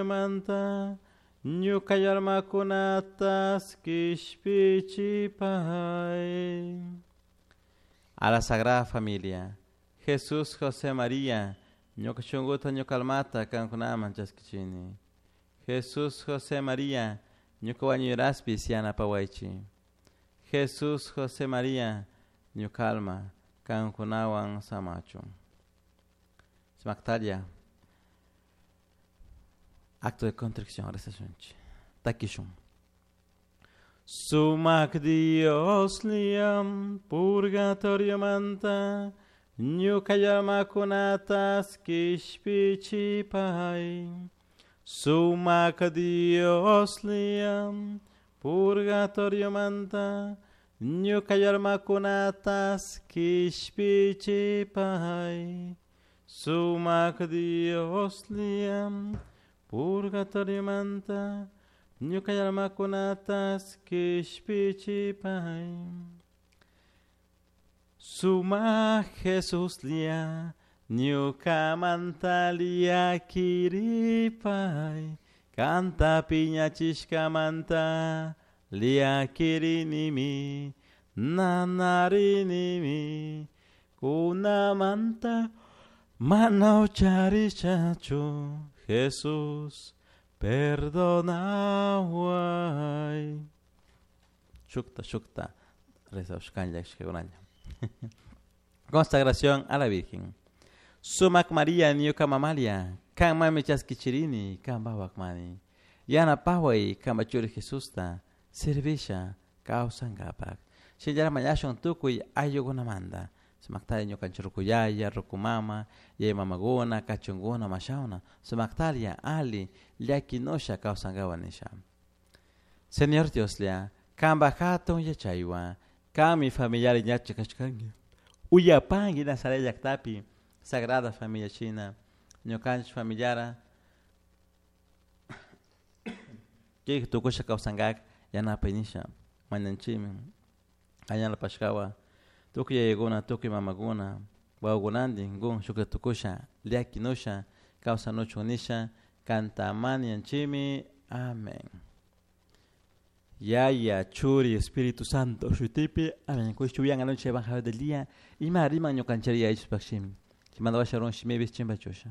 Manta ñuka almakunatas kishpichipay. A la Sagrada Familia, Jesús, José, María, ñuka shunkuta ñuka almata kankunaman chaskichini. Jesús, José, María, ñuka wañuyraspis yanapawaychik. Jesús, José, María, ñuka alma kankunawan samachun. Smactalia. Acto de contrición, rezashunchik. Takishun. Sumak Dios liam purgatorio manta ñuka llamakunatas kishpichipay. Sumak Dios liam purgatorio manta ñuka llamakunatas kishpichipay. Sumak Dios liam purgatorio manta ñuka llamakunatas kishpichipay. Suma Jesus lia ñuka mantalia kiripay kanta piñachishkamanta lia kirinimi nanarinimi kunamanta mana ucharishachu Jesus perdonaway. Shukta shukta rezashkanlla ishkaykunalla. Consagración a la Virgen. Sumak María ñuka mamalia, kan mami chaskichirini, kan mani. Yanapaway kamba churi Jesusta, servisha kawsankapak. Shinallara mañashun tukuy ayllukunamanta. Sumaktalla ñukanchik rukuyaya, rukumama, yaya mamakuna, kachunkuna, mashawna, sumaktalla ali llakinusha kawsankapak nisha. Señor Dioslla, kanpak hatun yachaywan, kanmi familiar ñacha kashkanki. Uyapanki Nazaret llaktapi, Sagrada Familia shina, ñukanchik familiara kik tukusha kawsankak yanapay nisha, mañanchikmi añalpashkawan tukuy yayakuna, tukuy mamakuna, wawakunantin kun shukta tukusha llakinusha kawsanuchun nisha kanta mañanchikmi. Amén. Yaya, Churi, Espíritu Santo, shutipi, amén. Kushchuyan anoche evangelio del día, ima riman ñukanchari yaychuspaq shimi. Chimanda washarun shimibis chimbachusha.